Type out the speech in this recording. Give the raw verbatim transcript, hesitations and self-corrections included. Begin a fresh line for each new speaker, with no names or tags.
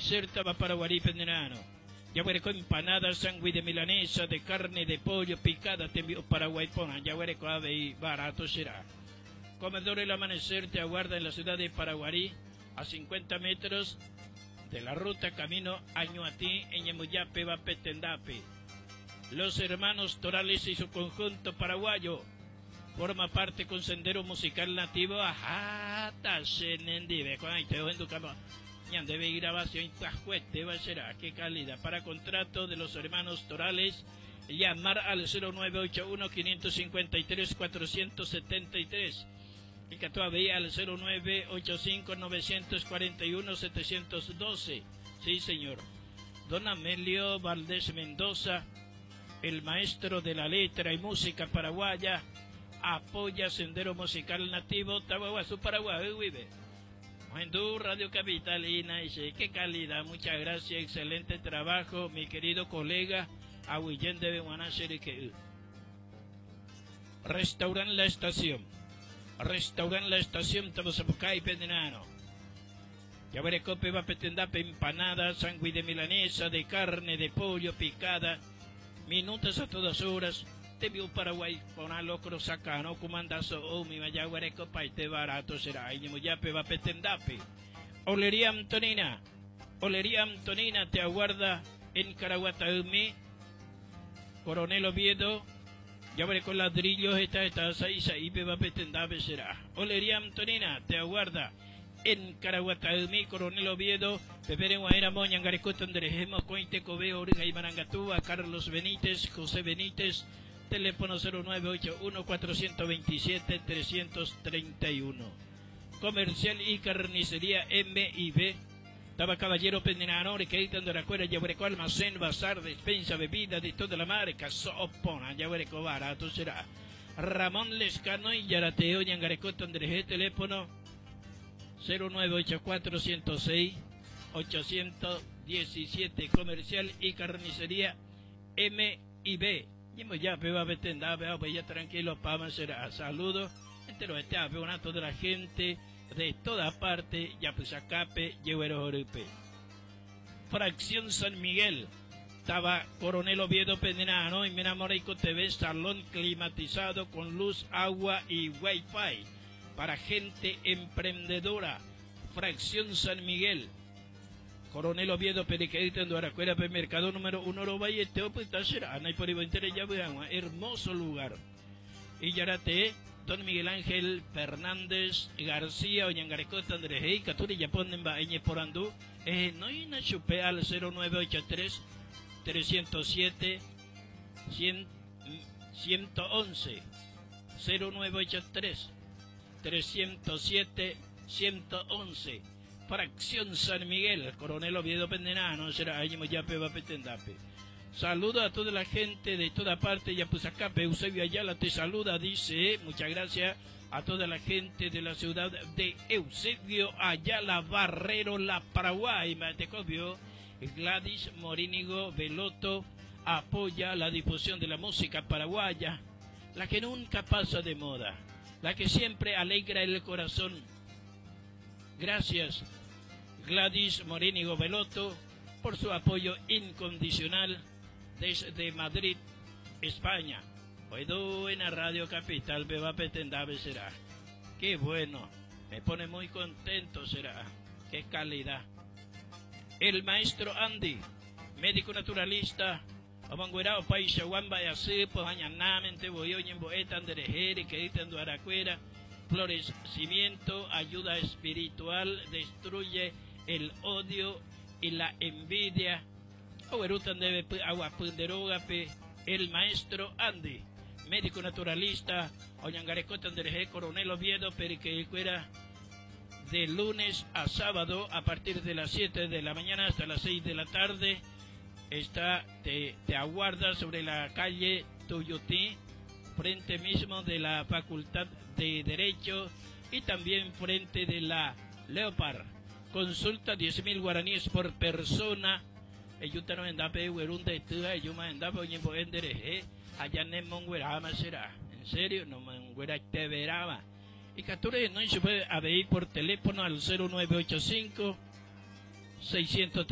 Amanecer Tava Paraguarí Penderano. Yaguareco empanada, sándwich de milanesa, de carne, de pollo, picada, tembi'u Paraguay porã, jaguereko avei barato será. Comedor El Amanecer te aguarda en la ciudad de Paraguarí, a cincuenta metros de la ruta camino Añuatí, en Yemuyape, Bapetendape. Los hermanos Torales y su conjunto paraguayo forma parte con sendero musical nativo. Ajá, nendive, con ahí te ñandeve grabación va será, qué calidad. Para contrato de los hermanos Torales, llamar al cero nueve ocho uno, quinientos cincuenta y tres, cuatrocientos setenta y tres. Y que todavía al cero nueve ocho cinco, novecientos cuarenta y uno, setecientos doce. Sí, señor. Don Amelio Valdés Mendoza, el maestro de la letra y música paraguaya, apoya Sendero Musical Nativo Tabaguazú, Paraguay, vive. Ohendú, Radio Capitalina, dice, qué calidad, muchas gracias, excelente trabajo, mi querido colega, Aguillén de Beguaná, Restaurant La Estación, Restaurant La Estación, Tabazapucay, Pendenano. Ya veré cope, va petendape, empanada, sándwich de milanesa, de carne, de pollo, picada, minutas a todas horas. Te vio Paraguay con alocro sacano, comandazo, oh, mi mayaguareco, paite barato será, y muyape va petendape. Olería Antonina, Olería Antonina te aguarda en Caraguatayumi, Coronel Oviedo, ya veré con ladrillos, esta, esta, seis, ahí, va petendape será. Olería Antonina te aguarda en Caraguatayumi, Coronel Oviedo, Pepere Guaera Moña, Angarecoto, Andrejemo, Cointe, Cobeo, Origa y Marangatúa, Carlos Benítez, José Benítez, teléfono cero nueve ocho uno, cuatrocientos veintisiete, trescientos treinta y uno. Comercial y carnicería M y B. Taba Caballero Pendenano, Requerita de la Cuera, Yabureco, Almacén, Bazar, Despensa, Bebida de toda la marca, Sopona, Yabureco, barato será. Ramón Lescano y Yarateo, Ñangarecoto, Andrés, teléfono cero nueve ocho cuatro, ciento seis, ochocientos diecisiete. Comercial y carnicería M y B. Y ya veo a Betenda, veo a ya tranquilo, pa, será. Saludos, entero este veo a toda la gente de toda parte, ya pues acape, lleguero jorupe. Fracción San Miguel, estaba Coronel Oviedo Pendenano y Menamoraico T V, salón climatizado con luz, agua y wifi para gente emprendedora. Fracción San Miguel, Coronel Oviedo, Periquerita, en Duaracuera, Mercado número uno, Oro Valle, Teo, pues, está será, Ana y por ahí, Inter, ya vean, hermoso lugar. Y Yarate, don Miguel Ángel Fernández García, Oñangarecota, Andrés Hey, Caturi, Yapón, en Baeñe, Porandú, eh, no hay una chupe al cero nueve ocho tres, trescientos siete, cien, ciento once, cero nueve ocho tres, trescientos siete, ciento once. Fracción San Miguel, Coronel Oviedo Pendenano, será allí Moyape, Bapetendape. Saludo a toda la gente de toda parte, Yapuzacape, Eusebio Ayala te saluda, dice, muchas gracias a toda la gente de la ciudad de Eusebio Ayala, Barrero, La Paraguay, Matecobio. Gladys Morínigo Veloto apoya la difusión de la música paraguaya, la que nunca pasa de moda, la que siempre alegra el corazón. Gracias, Gladys Morínigo Veloto, por su apoyo incondicional desde Madrid, España. Hoy en la Radio Capital, Beba Petendabe será. Qué bueno, me pone muy contento será. Qué calidad. El maestro Andy, médico naturalista, Omanguerao, Paisa, Wamba, y así, pues, añanamente, voy, oye, boeta, anderejere, que dicen Duaracuera, florecimiento, ayuda espiritual, destruye el odio y la envidia. Oerutan debe agua punderogape, el maestro Andy, médico naturalista, Oñangarecota, Andereje, Coronel Oviedo, Periquecuera, de lunes a sábado a partir de las siete de la mañana hasta las seis de la tarde. Está, te, te aguarda sobre la calle Tuyutí, frente mismo de la Facultad de Derecho y también frente de la Leopard. Consulta diez mil guaraníes por persona. Eyuta no endape, huerunda, estuja, eyuma endape, oñembo endereje, allá en Monguerama será. En serio, no Monguera te veraba. Y capture, no se puede aderir por teléfono al cero nueve ocho cinco, seiscientos